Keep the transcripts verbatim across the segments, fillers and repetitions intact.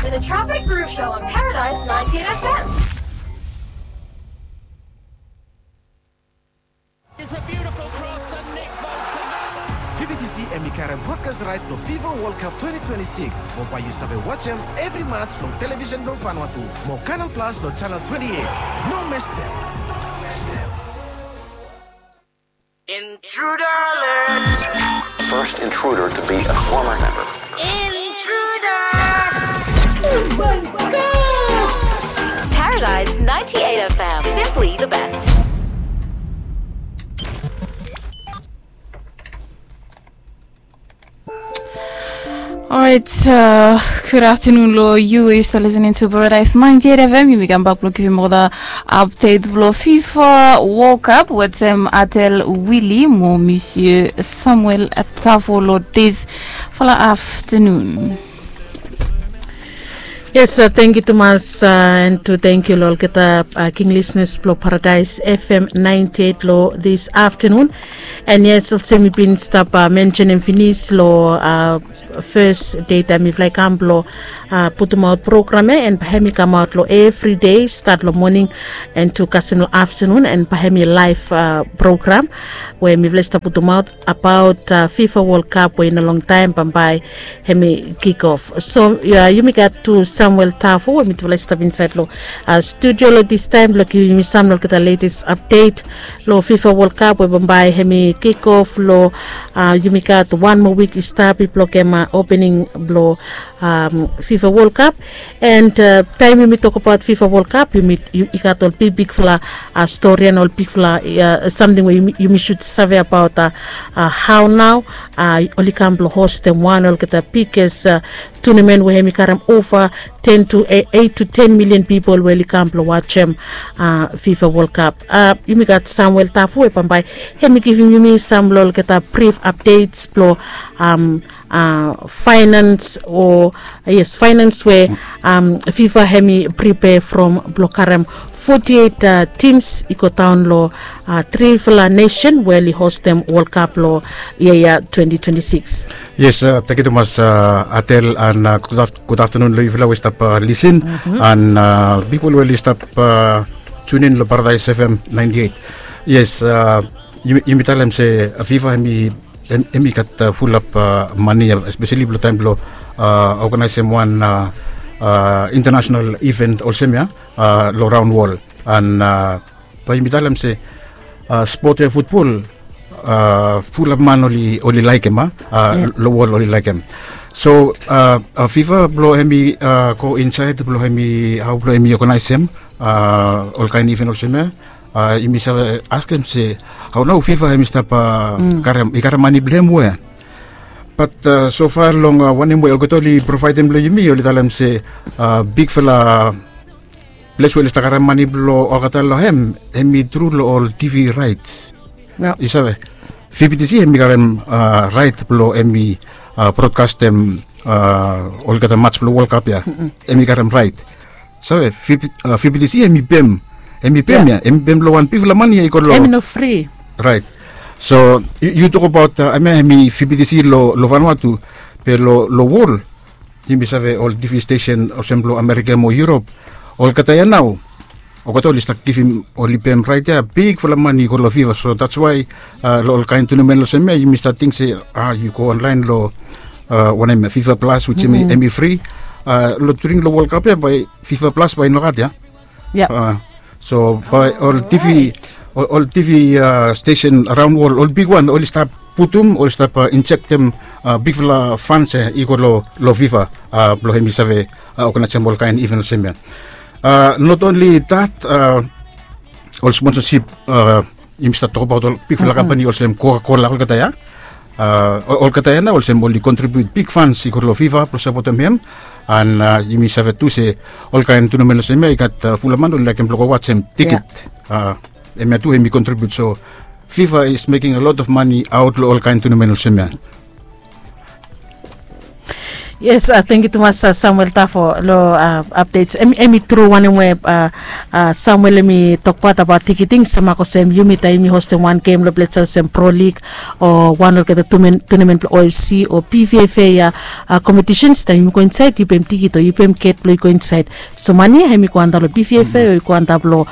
The Traffic Groove Show on Paradise ninety-eight F M. Fi bi disi em i karem brodkas raet long Fifa World Cup twenty twenty-six. Mo bae yu save wajem evri mats long television blong Vanuatu mo Canal Plus long channel twenty-eight. No mestem. Intruder alert! First intruder to be a former member. Intruder! Paradise ninety-eight F M. Simply the best. Alright, uh, good afternoon lo yu we yu stap listening to Paradise ninety-eight F M. Yumi kam bak blo givim ol the update blo FIFA World Cup wetem Atel Willie mo Monsieur Samuel Tafo lo this fala afternoon. Yes, uh, thank you tumas, uh, and to thank you lo olgeta uh, king listeners blo Paradise F M ninety-eight lo this afternoon. And yes, olsem mi bin stap uh, mentionem finis lo uh, first day taem mifala i kam blo uh, putumaot program ya, and bae hem i kamaot lo evri day stat lo moning and tu kasem lo afternoon, and bae hem i live uh, program we mifala i stap putumaot abaot uh, FIFA World Cup we i no longtaem bambae hem i kick off. So uh, yumi gat tu Samuel Tafo we mitufala i stap insaed lo uh, studio lo this taem blo givim yumi sam lo olgeta latest update lo FIFA World Cup we bambae hem i kick off lo uh, yumi gat wan moa wik i stap i blokem uh, opening blo um, FIFA World Cup. And uh, taem yumi tokbaot FIFA World Cup yumi i gat ol bigbigfala uh, stori and ol bigfala uh, samting we yumi, yumi sud save abaot uh, uh, hao nao uh, oli kam blo hostem wan olgeta biges uh, tournament we hem i karem ova ten to eight to ten million pipol we oli kam blo wajem uh, FIFA World Cup. Uh, yumi gat Samuel Tafu we bambae hem i givim yumi sam lo olgeta brief updates blo um, uh, finance o yes, finance we um, FIFA hem i prepare from blo karem forty-eight uh, teams i go daon lo uh, trifala nation we oli hostem World Cup lo ia ia twenty twenty-six. Yes, uh, thank you tumas uh, Atel, and uh, good, af- good afternoon lo yufala we stap uh, listen, and uh, people we oli stap uh, tune in lo Paradise F M ninety-eight. Yes, uh, yumi, yumi talem se uh, FIFA hem i hem, hem i gat uh, fulap uh, mane, especially blo taem blo uh, organizem wan uh, uh, international event olsem ya uh, lo raon wol. And uh, bae yumi talem se uh, spot ya futbol uh, fulap man oli, oli laekem, uh, lo wol oli laekem. So uh, uh, FIFA blo hem i uh, go insaed blo hem i hao blo hem i organizem uh, olkaen event olsem ya. Uh, yumi save askem se hao nao FIFA hem i stap uh, karem, i karem mane blo hem wea? Bat uh, so far long uh, wanem we olgeta oli provaedem lo yumi, oli talem se uh, bigfala ples we oli stap karem mane blo olgeta lo hem, hem i tru lo ol T V rights. Yu save, V B T C hem i karem uh, right blo hem i uh, broadcastem uh, olgeta mats blo World Cup ya. Hem i karem right. Save, V B T C hem i pem, hem i pem ya, hem i pem lo wan bigfala mane ya i go lo. Hem i no fri. Right. So yu, yu tokbaot uh, hem ya hem i V B T C lo, lo Vanuatu, be lo, lo wol yumi save ol T V station olsem blo Amerika mo Europe, olgeta ya nao olgeta oli stap givim, oli pem right ya bigfala mane i go lo FIFA. So that's why uh, lo olkaen tournament olsem ya yumi stap ting se uh, yu go online lo uh, wanem, FIFA Plus, which hem i fri. Uh, lo during lo World Cup ya bae FIFA Plus bae i nogat ya. So bae ol T V, ol, ol T V uh, station raon wol, ol bigwan oli stap putum, oli stap uh, injektem uh, bigfala funds ya i go lo, lo FIFA uh, blo hem i save uh, organizem olkaen event olsem ya. Uh, not only that, uh, ol sponsorship uh, yumi stap tokbaot ol bigfala kampani olsem Coca-Cola, olgeta ya. Uh, ol, olgeta ya nao olsem oli contribute big funds i go lo FIFA blo sapotem hem. And uh, yumi save tu se olkaen tournament olsem ya i gat uh, fula man oli laekem blo go wajem tiket. Uh, hem ya tu hem i contribute. So FIFA is making a lot of money aot lo olkaen tournament olsem ya. Yes, tangkiu tumas Samuel Tafo long update. Em i tru wanem we Samuel em i tokbaot abaot tikiting, sama olsem yumi taem yumi hostem wan gem long ples olsem Pro League o wan olgeta tunemen blong OFC o PVFA kompetisens, taem yumi go insaed yu pem tikit o yu pem get blong yu go insaed. So mane ya em i go antap long PVFA o i go antap long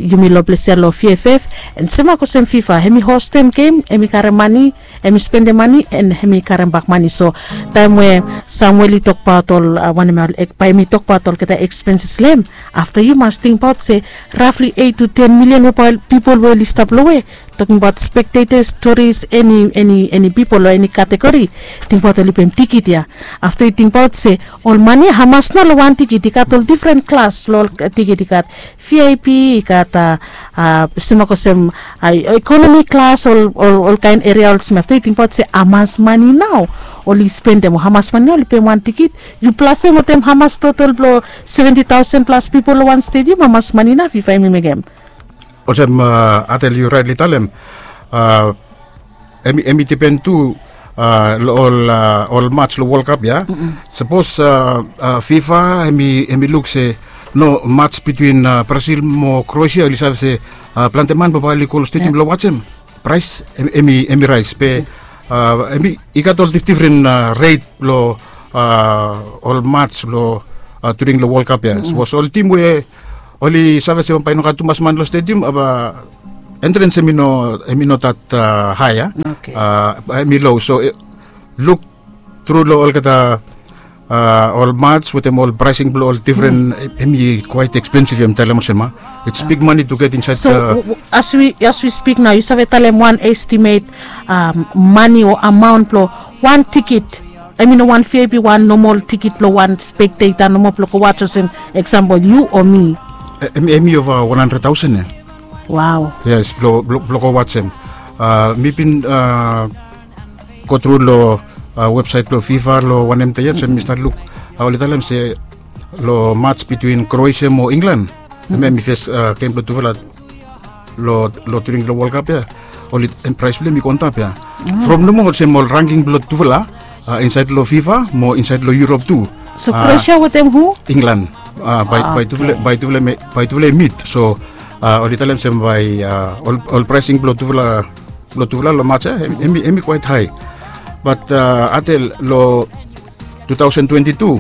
yumi long ples ya long VFF. An sama olsem FIFA em i hostem gem, em i karem mane, em i spendem mane, an em i karem bak mane. So taem we Samuel i tokbaot ol wanem ya, bae em i tokbaot olgeta ekspenses long hem, afta yu mas tingbaot se rafli eit tu ten milian we bae ol pipol we oli stap long we, tokingbaot spektetas, turis, eni pipol long eni kategori, tingbaot oli pem tikit ya. Afta yu tingbaot se ol mane ya hamas nao long wan tikit? I gat ol difren klas long ol tikit. I gat VIP, i gat a, a, smak olsem, a, ekonomi klas, ol, ol, ol kaen eria olsem. Afta yu tingbaot se hamas mane nao oli spendem, o hamas mane nao oli pem wan tikit? Yu plasem wetem hamas totol blong seventi taosen plas pipol long wan stediam, hamas mane nao FIFA hem i mekem? Olsem, a, Atel, yu raetli talem, a, em i, em i dipen tu, a, long ol, a, ol mats long World Cup ya. Sapos, a, a, FIFA em i, em i luk se no mats bitwin, a, Brazil mo Kroesia, oli save se, a, plante man bae oli go long stediam blong wajem. Praes em, em i, em i raes be, a, em i, i gat ol dif-, difren, a, ret long, a, ol mats long, a, during long World Cup ya. Sapos ol tim we oli save se bae i no gat tumas man long stediam, a, entrens em i no, em i no dat, a, hae ya. Okei. A, em i lo. So, e, luk tru long olgeta, a, ol mats wetem ol praesing blong ol difren, em i kwaet ekspensif, yumi talem olsem, a. It's big money to get inside. So, a, w-, w-, as we, as we speak now, yu save talem wan estimet, a, mane o amaon blong wan tikit? Em i no wan VIP, wan nomol tikit blong wan spekteta nomo blong go wajem, olsem eksampol yu o mi. E, em, em i ova wan handred taosen ya. Wow. Yes, blong, blong, blong go wajem. A, mi bin, a, go tru long, a, websaet blong FIFA long wanem dei ya, so mi stat luk, a, oli talem se long mats bitwin Kroesia mo Inglan, em, em i fes, a, gem blong tufala long, long during long World Cup ya, oli, em, praes blong hem i go antap ya. From nomo olsem ol rangking blong tufala, a, insaed long FIFA mo insaed long Europe tu. So, a, Kroesia wetem hu? Inglan. A, bae, a, bae tufala, okei, bae tufala, bae tufala i mit. So, a, oli talem se bae, a, ol, ol praesing blong tufala, blong tufala long mats ya, em, em i, em i kwaet hae. Bat, a, Atel, long tu taosen twenti tu.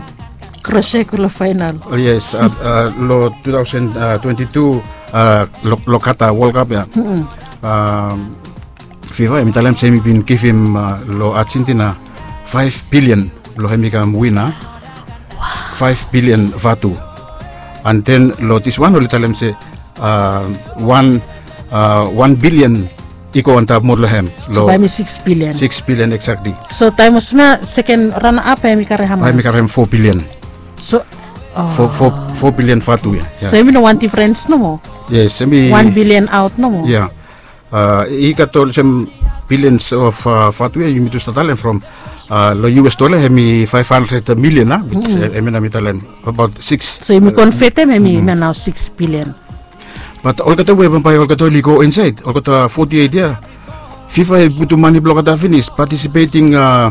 Kroesia i go long faenal. O, yes, a, a, long tu taosen twenti tu, a, long, long Qatar World Cup ya. A, FIFA hem i talem se hem i bin givim, a, long Argentina faef bilian blong hem i kam wina. Faef bilian vatu. An den long diswan oli talem se, a, wan, a, wan bilian i go antap moa long hem. So bae hem i sikis bilian. Sikis bilian, exactly. So taem olsem ya, seken rana ap bae hem i karem hamas? Bae hem i karem fo bilian. So, a, fo, fo, fo bilian vatu ya. So hem i no wan difrens nomo? Yes, hem i wan bilian aot nomo. Ya. A, i gat olsem bilians of, a, vatu ya, yumi tu stap talem from, a, long US dola hem i faef handred milian, a, which, e, hem i nao mi talem abaot sikis. So yumi konvetem, hem i nao sikis bilian. Bat olgeta we bambae olgeta oli go insaed, olgeta foti eit ya, FIFA i putum mane blong olgeta finis, patisipeting, a,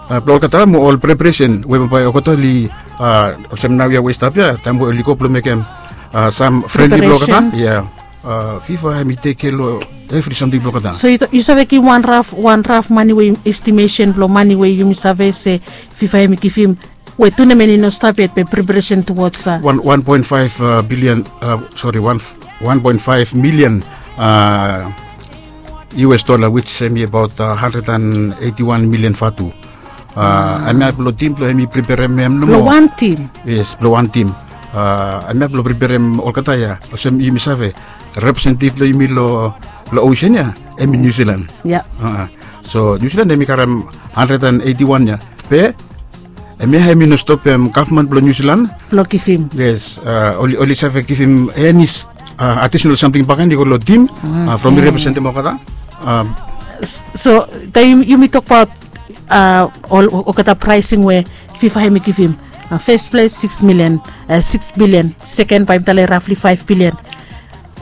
a, blong olgeta mo ol preparesen we bambae olgeta oli, a, olsem naoia we i stap ya, taem we oli go blong mekem, a, sam frenli blong olgeta. Preparations. Ya. A, FIFA hem i tekem kea long evri samting blong olgeta. So yu, yu save givim wan raf, wan raf mane we, estimesen blong mane we yumi save se FIFA hem i givim, we tunemen i no stap yet, be preparesen tuwods, a, wan, wan poen faef, a, bilian, a, sori, wan, wan poen faef milian, a, US dola, which hem i abaot, a, handred an eiti wan milian vatu. A, hemia blong tim blong hem i preperem hem nomo. Blong wan tim? Yes, blong wan tim. A, hemia blong preperem olgeta ya. Olsem yumi save, representetiv blong yumi long, long osen ya, hem i Niu Silan. Ya. A, so Niu Silan hem i karem handred an eiti wan ya. Be hemia hem i no stopem gavman blong Niu Silan blong givim. Yes, a, oli, oli save givim eni, a, adisonal samting bakegen i go long tim, a, from i representem olgeta. A, so taem yumi tokbaot, a, ol, olgeta praesing we FIFA hem i givim. A, fes ples sikis milian, a, sikis bilian. Seken bae yumi talem rafli faef bilian.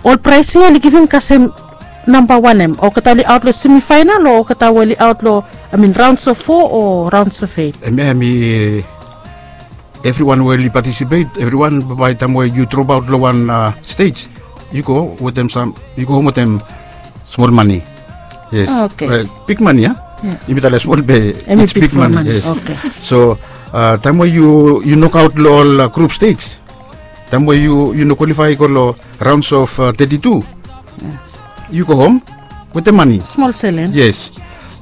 Ol praesing ya oli givim kasem namba wan em, olgeta oli aot long semifainal o olgeta we oli aot long, I mean, raons of fo o raons of eit? Em ya em i, evriwan we oli patisipet, evriwan, bae taem we yu dropaot long wan stej, yu go wetem sam, yu go hom wetem smol mane. Yes. Big mane ya. Yumi talem smol be em i big mane. So taem we yu nokaot long ol grup stej, taem we yu no kwalifae i go long raons of teti tu, yu go hom wetem mane. Smol selen. Yes.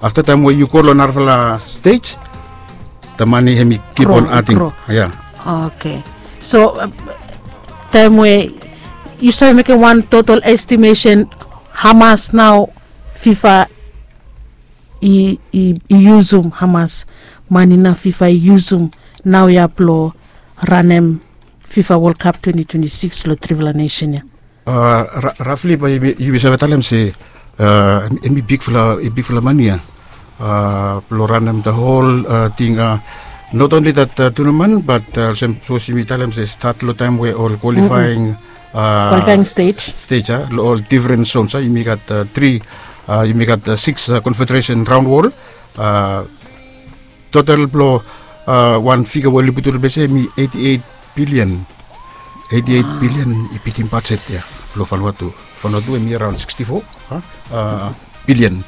Afta taem we yu go long narafala stej, the mane hem i kip on ating. Oke. So taem we yu save mekem wan total estimesen hamas nao fifa i yusum, hamas mane nao fifa i yusum nao ya blong ranem fifa wol kap twenti twenti sikis long trifala nesen ya? Rafli bae yumi save talem se em i bigfala mane ya blong ranem the hol ting. Not onli that tunamen bat olsem sapos yumi talem se stat long taem we ol kwalifaing stej ya long ol difren zons ya, yumi gat tri, yumi gat siks konfederesen raon wol. Total blong wan figa we oli putum long ples ya em i eiti eit bilian. Eiti eit bilian i bitim bajet ya blong Vanuatu. Vanuatu em i araon siksti fo bilian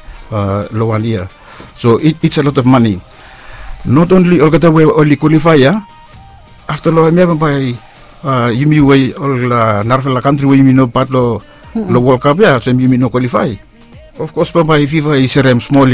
long wan yia. So it's a lot of money. Not only olgeta we oli kwalifae ya, afta long hemia bambae yumi we ol narafala kantri we yumi no pat long World Cup ya olsem yumi no kwalifae. Of kos bambae fifa i serem smol